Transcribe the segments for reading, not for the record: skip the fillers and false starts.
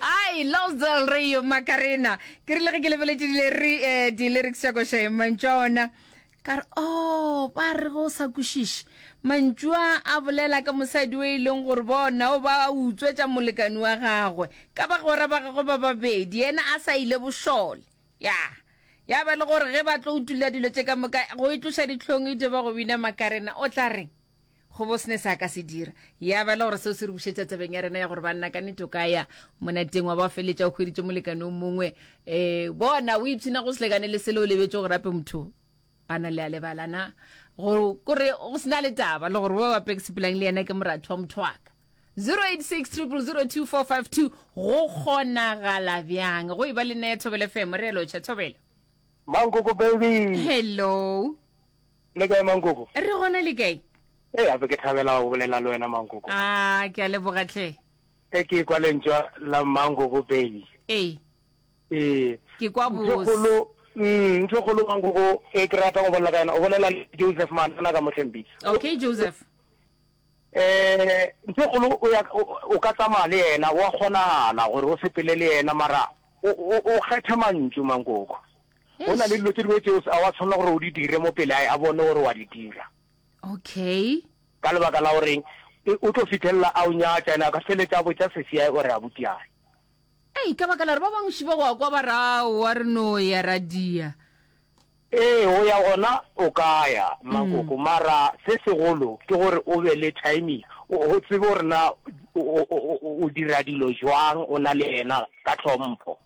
Ai, Los del Rio Macarena. Ke rile ge ke lebeletše dileri eh, di-lyrics tša koša ye mantšu a ona ka re oh ba re go sa kwešiše mantšu a a bolela ka mosadi o e leng gore bona o ba utswetša molekani wa gagwe ka bagwera ba gagwe ba babedi yena a sa ile bošole ya ya ba le gore ge ba tlo utulla dilo tše ka moka go itloša dihlong e ba go bina makarena o tla reng Go bo sene sa ka se dira. Ya ba le gore seo se re bušetša tabeng ya rena ya gore banna ka nnete o ka ya monateng wa ba feletša o hweditše molekane o mongwe. Eh, bona o ipshina go selekane le sele o lebetše gore ape motho a na le a lebala na. Go kore go sena le taba le gore wa bape ke sepelang le yena ke moratho wa motho wa ka. 086 0002452 go kgonagala bjang go e ba le nna ya Thobela FM re a lotšha Thobela. Mankoko baby. Hello. Le kae Mankoko? Re gona le kae? Ee, gape ke thabela go bolela le wena Mankoko. Ah, ke a leboga tlhe. E ke kwa lentšwa la Mankoko baby. Ee. Ee. Ke kwa Ntho bose. kgolo, mm, ntho kgolo Mankoko e ke ratang go bolela ka yona, o bolela le Joseph Manana ka Mohlempitse. Okay, Joseph. Eh, ntho kgolo o ya o ka tsamaya le yena, wa kgonagala gore o sepele le yena mara o o o kgethe mantšu Mankoko. Go na le dilo tše dingwe tšeo a wa tshwanela gore o di dire mo pele a bone gore wa di dira. Okay. Ka lebaka la goreng o tlo fithelela a o nyatša ene a ka feletša a botša sesi o re abuti ae. Ei, ka baka la gore ba bangwe šiba go a kwa ba re aowa re no ya ra dia. Ee, go ya gona o ka ya, Mmakoko, mara se segolo ke gore o be le timing, o tsebe gore na o dira dilo jwang o na le yena ka tlhompho.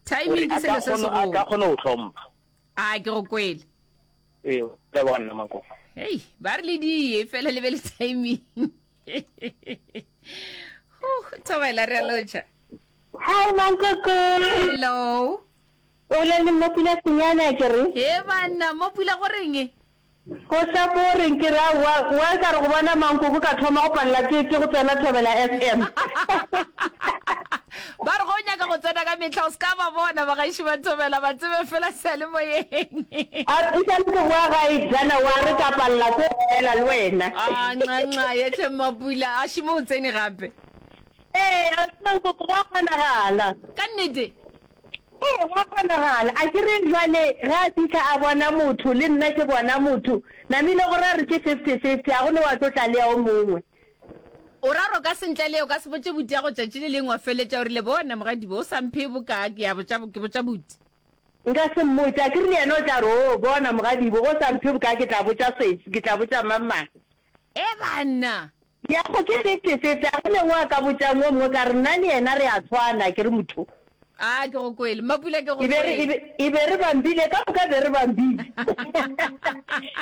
Timing ke selo se segolo. A ka kgona go hlompha. A ke go kwele. Ee, leboga nna Makoko. Hei, ba re le die fela le be le timing. Huh, thobela re a lotšha. Hi Mankoko. Hello. O bolela le Mmapula Senyane a ke re? He banna, Mmapula go reng? Go sa boring ke re aowa wa ka re go bona mankoko ka thoma go palela ke ke go tsena Thobela FM. Ba re go nyaka go tsena ka mehla o se ka ba bona bagaešo ba Thobela ba tsebe fela seyalemoyeng. A e sa le ke boa gae January ka palela ke go bolela le wena. A nxa nxa ye hle Mmapula a šimo o tsene gape. Ee mankoko gwa kgonagala. Ka nnete? Ee, gwa kgonagala. A ke re jwale ge a fihla a bona motho, le nna ke bona motho, namile go ra re ke fifty-fifty, a go ne wa tlo tla le ya o mongwe. O ra gore o ka se ntle le, o ka se botše buti ya go tšatši le lengwe wa feletša o rile, Bona, mogadibo, o sa mphe bokaa, ke ya botša, ke botša buti. Nka se mmotše. A ke re le yena o tla re, Oo, bona, mogadibo, ge o sa mphe bokaa, ke tla botša sesi, ke tla botša mang-mang. E banna! Ya go ke fifty fifty, a go ne o a ka botšang o mongwe ka re nna le yena re a tshwana, ke re motho. A ke go kwele, Mapula ke go E be re, e kwele. be, e be re bambile, ka moka be re bambile.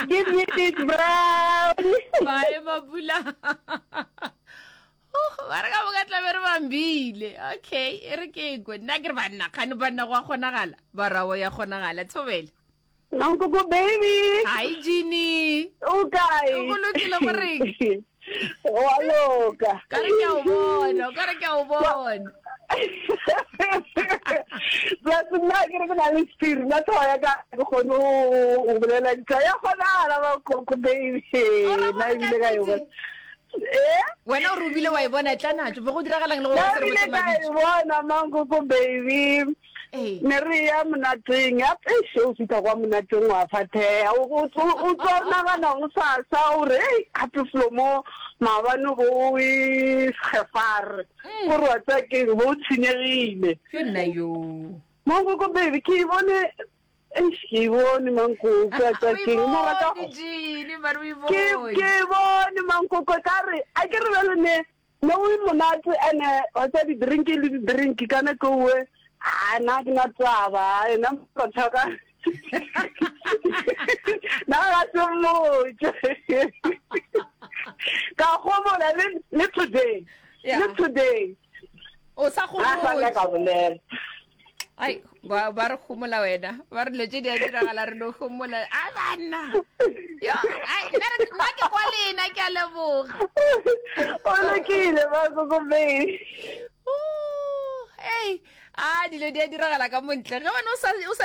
Give me this brown. Bye Mapula. Oh, ba re ka moka tla be re bambile. Okay, e re ke kwe. Nna ke re banna, kgane banna go a kgonagala. Ba ra o ya kgonagala, thobela. Mankoko baby. Hi Jeannie. O kae? Go lokile go reng? Wa loka. Ka re ke a o bona, ka re ke a o bona. Plus nna ke re ke na le sephiri, nna tlhogo ya ka ke kgone go bolela ditaba. Ya kgonagala Mankoko baby. Nna ebile ka e bona. Eh? Wena o re o bile wa e bona tla natso, be go diragalang le go Nna ebile ka e bona Mankoko baby. Ne re ya monateng, ya eish o fihla kwa monateng wa fatheha, o o o tlo nagana go sasa o re hei gape felo mo maabane bo o e sgefare, o re wa tseba keng bo o tshenyegile. Ke nna yoo. Mankoko baby ke e bone eish ke e bone mankoko wa tseba O e keng mara ka bone Jeannie, mara o e ke bone. ke e bone mankoko ka re a ke re bjale ne Ne o e monate ene wa tseba di drink le di drink ka nako ewe ha na ke na taba ena motho ka na ga se mmotse ka gomola le le today le today o sa gomotse ka bolela Ai, ba ba re gomola wena. Ba re dilo tše di a diragala re no gomola. A banna. Yo, ai, nna re nna ke kwa lena ke a leboga. O lokile ba go baby. Hey, a dilo di a diragala ka montle. Ge wena o sa o sa.